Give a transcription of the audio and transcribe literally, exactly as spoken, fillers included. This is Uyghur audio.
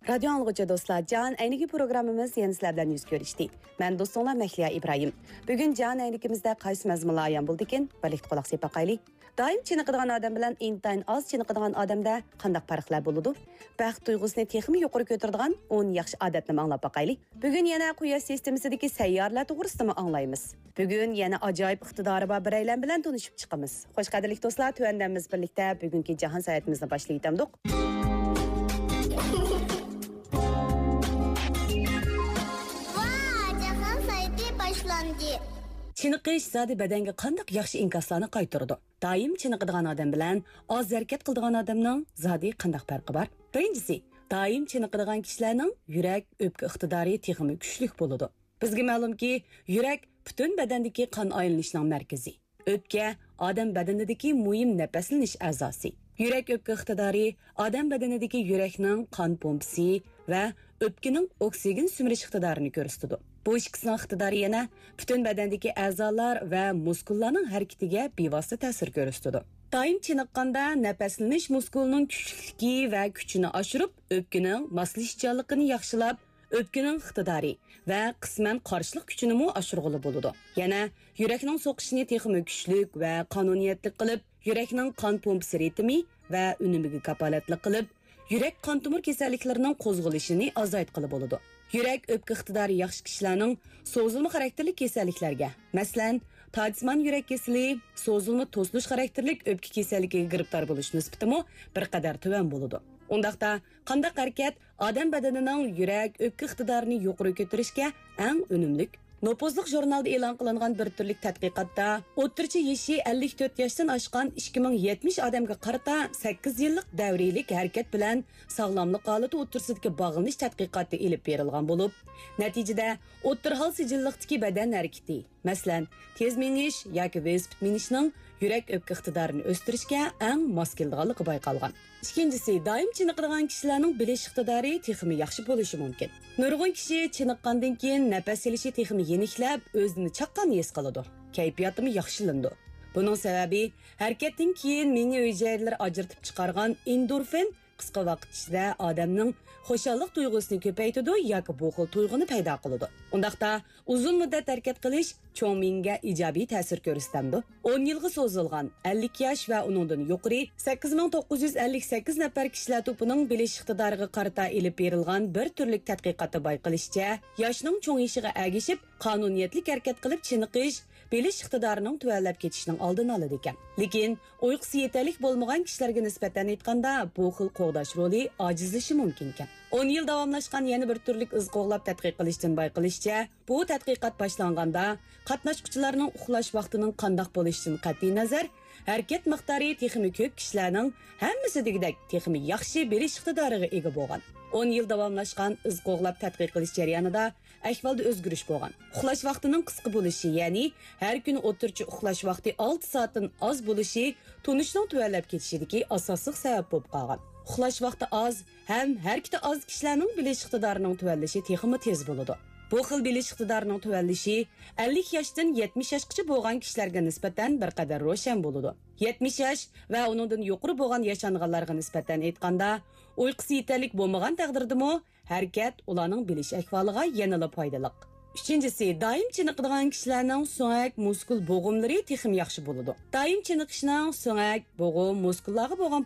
رادىيو ئاڭلىغۇچى دوستلار، جان ئەينىكى پروگراممىمىز يەنە سىلەر بىلەن يۈز كۆرۈشتى. مەن دوستۇڭلار مەھلىيا ئىبراھىم. بۈگۈن جان ئەينىكىمىزدە قايسى مەزمۇنلار ئايان بولىدىكىن؟ بىرلىكتە قۇلاق سېلىپ باقايلى. دائىم چېنىقىدىغان ئادەم بىلەن ئىنتايىن ئاز چېنىقىدىغان ئادەمدە قانداق پەرقلەر بولىدۇ؟ بەخت تۇيغۇسىنى تېخىمۇ يۇقىرى كۆتۈرىدىغان ئون ياخشى ئادەتنىمۇ ئاڭلاپ باقايلى. بۈگۈن يەنە قۇياش سىستېمىسىدىكى سەييارىلەر توغرىسىدىمۇ ئاڭلايمىز. بۈگۈن يەنە ئاجايىپ ئىقتىدارى بار بىرەيلەن بىلەن تونۇشۇپ چىقىمىز. خوش، قەدىرلىك دوستلار، تۆۋەندە بىز بىرلىكتە بۈگۈنكى جاھان ساياھىتىمىزنى باشلىۋېتەمدۇق. ۋا، جاھان ساياھىتى باشلاندى. چېنىقىش زادى بەدەنگە قانداق ياخشى ئىنكاسلارنى قايتۇرىدۇ؟ دائىم چېنىقىدىغان ئادەم بىلەن ئاز ھەرىكەت قىلىدىغان ئادەمنىڭ زادى قانداق پەرقى بار؟ بىرىنچىسى، دائىم چېنىقىدىغان كىشىلەرنىڭ يۈرەك، ئۆپكە ئىقتىدارى تېخىمۇ كۈچلۈك بولىدۇ. بىزگە مەلۇمكى، يۈرەك پۈتۈن بەدەندىكى قان ئايلىنىشنىڭ مەركىزى. ئۆپكە ئادەم بەدىنىدىكى مۇھىم نەپەسلىنىش ئەزاسى. يۈرەك ئۆپكە ئىقتىدارى ئادەم بەدىنىدىكى يۈرەكنىڭ قان پومپىسى ۋە ئۆپكىنىڭ ئوكسىگېن سۈمۈرۈش ئىقتىدارىنى كۆرسىتىدۇ. بۇ ئىككىسىنىڭ ئىقتىدارى يەنە پۈتۈن بەدەندىكى ئەزالار ۋە مۇسكۇللارنىڭ ھەرىكىتىگە بىۋاسىتە تەسىر كۆرسىتىدۇ. دائىم چېنىققاندا نەپەسلىنىش مۇسكۇلىنىڭ كۈچلۈكلۈكى ۋە كۈچىنى ئاشۇرۇپ، ئۆپكىنىڭ ماسلىشىشچانلىقىنى ياخشىلاپ، ئۆپكىنىڭ ئىقتىدارى ۋە قىسمەن قارشىلىق كۈچىنىمۇ ئاشۇرغىلى بولىدۇ. يەنە يۈرەكنىڭ سوقۇشىنى تېخىمۇ كۈچلۈك ۋە قانۇنىيەتلىك قىلىپ، يۈرەكنىڭ قان پومپىسى رىتىمى ۋە ئۈنۈمىگە كاپالەتلىك قىلىپ، يۈرەك قان تومۇر كېسەللىكلىرىنىڭ قوزغىلىشىنى ئازايتقىلى بولىدۇ. يۈرەك ئۆپكە ئىقتىدارى ياخشى كىشىلەرنىڭ سوزۇلما خاراكتېرلىك كېسەللىكلەرگە، مەسىلەن، تاجسىمان يۈرەك كېسىلى، سوزۇلما توسۇلۇش خاراكتېرلىك ئۆپكە كېسەللىكىگە گىرىپتار بولۇش نىسبىتىمۇ بىر قەدەر تۆۋەن بولىدۇ. ئۇنداقتا، قانداق ھەرىكەت ئادەم بەدىنىنىڭ يۈرەك، ئۆپكە ئىقتىدارىنى يۇقىرى كۆتۈرۈشكە ئەڭ ئۈنۈملۈك؟ نوپۇزلۇق ژۇرنالدا ئېلان قىلىنغان بىر تۈرلۈك تەتقىقاتتا، ئوتتۇرىچە يېشى ئەللىك تۆت ياشتىن ئاشقان ئىككى مىڭ يەتمىش ئادەمگە قارىتا سەككىز يىللىق دەۋرىيلىك ھەرىكەت بىلەن ساغلاملىق ھالىتى ئوتتۇرىسىدىكى باغلىنىش تەتقىقاتى ئېلىپ بېرىلغان بولۇپ، نەتىجىدە ئوتتۇرا ھال سىجىللىقتىكى بەدەن ھەرىكىتى، مەسىلەن، تېز مېڭىش ياكى ۋېلىسىپىت مىنىشنىڭ يۈرەك ئۆپكە ئىقتىدارىنى ئۆستۈرۈشكە ئەڭ ماس كېلىدىغانلىقى بايقالغان. ئىككىنچىسى، دائىم چېنىقىدىغان كىشىلەرنىڭ بىلىش ئىقتىدارى تېخىمۇ ياخشى بولۇشى مۇمكىن. نۇرغۇن كىشى چېنىققاندىن كېيىن نەپەس ئېلىشى تېخىمۇ يېنىكلەپ، ئۆزىنى چاققان ھېس قىلىدۇ، كەيپىياتىمۇ ياخشىلىنىدۇ. بۇنىڭ سەۋەبى، ھەرىكەتتىن كېيىن مېڭە ھۈجەيرىلىرى ئاجرىتىپ چىقارغان ئېندورفىن قىسقا ۋاقىت ئىچىدە ئادەمنىڭ خۇشاللىق تۇيغۇسىنى كۆپەيتىدۇ ياكى بۇ خىل تۇيغۇنى پەيدا قىلىدۇ. ئۇنداقتا، ئۇزۇن مۇددەت ھەرىكەت قىلىش چوڭ مېڭىگە ئىجابىي تەسىر كۆرسىتەمدۇ؟ ئون يىلغا سوزۇلغان، ئەللىك ياش ۋە ئۇنىڭدىن يۇقىرى سەككىز مىڭ توققۇز يۈز ئەللىك سەككىز نەپەر كىشىلەر توپىنىڭ بىلىش ئىقتىدارىغا قارىتا ئېلىپ بېرىلغان بىر تۈرلۈك تەتقىقاتتا بايقىلىشىچە، ياشنىڭ چوڭىيىشىغا ئەگىشىپ، قانۇنىيەتلىك ھەرىكەت قىلىپ چېنىقىش، بىلىش ئىقتىدارىنىڭ تۆۋەنلەپ كېتىشىنىڭ ئالدىنى ئالىدىكەن. لېكىن، ئۇيقۇسى يېتەرلىك بولمىغان كىشىلەرگە نىسبەتەن ئېيتقاندا، بۇ خىل قوغداش رولى ئاجىزلىشى مۇمكىنكەن. ئون يىل داۋاملاشقان يەنە بىر تۈرلۈك ئىز قوغلاپ تەتقىق قىلىشتىن بايقىلىشىچە، بۇ تەتقىقات باشلانغاندا، قاتناشقۇچىلارنىڭ ئۇخلاش ۋاقتىنىڭ قانداق بولۇشىدىن قەتئىينەزەر، ھەرىكەت مىقدارى تېخىمۇ كۆپ كىشىلەرنىڭ ھەممىسى دېگۈدەك تېخىمۇ ياخشى بىلىش ئىقتىدارىغا ئىگە بولغان. ئون يىل داۋاملاشقان ئىز قوغلاپ تەتقىق قىلىش جەريانىدا ئەھۋالدا ئۆزگىرىش بولغان. ئۇخلاش ۋاقتىنىڭ قىسقا بولۇشى، يەنى ھەر كۈنى ئوتتۇرىچە ئۇخلاش ۋاقتى ئالتە سائەتتىن ئاز بولۇشى تونۇشنىڭ تۆۋەنلەپ كېتىشىدىكى ئاساسلىق سەۋەب بولۇپ قالغان. ئۇخلاش ۋاقتى ئاز ھەم ھەرىكىتى ئاز كىشىلەرنىڭ بىلىش ئىقتىدارىنىڭ تۆۋەنلىشى تېخىمۇ تېز بولىدۇ. بۇ خىل بىلىش ئىقتىدارىنىڭ تۆۋەنلىشى ئەللىك ياشتىن يەتمىش ياشقىچە بولغان كىشىلەرگە نىسبەتەن بىر قەدەر روشەن بولىدۇ. يەتمىش ياش ۋە ئۇنىڭدىن يۇقىرى بولغان ياشانغانلارغا نىسبەتەن ئېيتقاندا، ئۇيقۇسى يېتەرلىك بولمىغان تەقدىردىمۇ، ھەرىكەت ئۇلارنىڭ بىلىش ئەھۋالىغا يەنىلا پايدىلىق. ئۈچىنچىسى، دائىم چېنىقىدىغان كىشىلەرنىڭ سۆڭەك مۇسكۇل بوغۇملىرى تېخىمۇ ياخشى بولىدۇ. دائىم چېنىقىشنىڭ سۆڭەك، بوغۇم، مۇسكۇللارغا بولغان